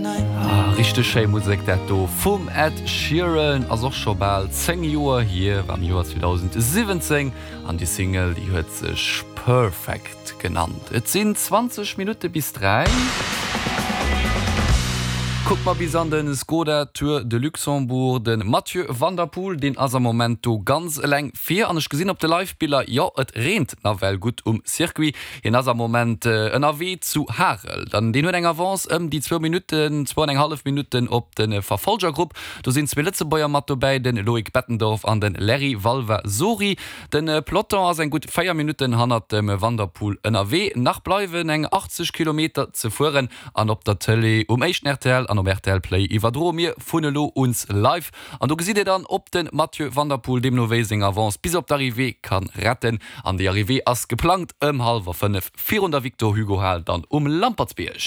Ah, richteg schéi Musek dat do vum Ed Sheeran. Ass och scho bal 10 Joer hier, war am Joer 2017 an déi Single déi huet sech Perfect genannt. Et sinn 20 Minutte bis 3. Kucke mer bis an de Skoda Tour de Luxembourg. De Mathieu van der Poel, deen ass am Moment do ganz eleng vir an ech gesinn op de Live-Biller, jo et reent nawell gutt um Circuit. Hien ass am Moment ënnerwee zu Harel. Dann deen huet eng Avance ëm déi zwou Minutten, zwou an eng hallef Minutten op de Verfolgergrupp. Do sinn zwee Lëtzebuerger mat dobäi, de Loïc Bettendorf an de Larry Valvasori. De Peloton ass eng gutt 4 Minutten hannert dem Van der Poel ënnerwee. Nach bleiwen eng 80 Kilometer ze fueren an op der Tëlee um éischten rtl an op rtl Play iwwerdroe mir vun elo uns live. An do gesitt Dir dann, ob de Mathieu van der Poel deemno wéi seng Avance bis op d'Arrivée kann retten. An déi Arrivée ass geplangt ëm hallwer 5 virun der Victor Hugo Hal dann um Lampertsbierg.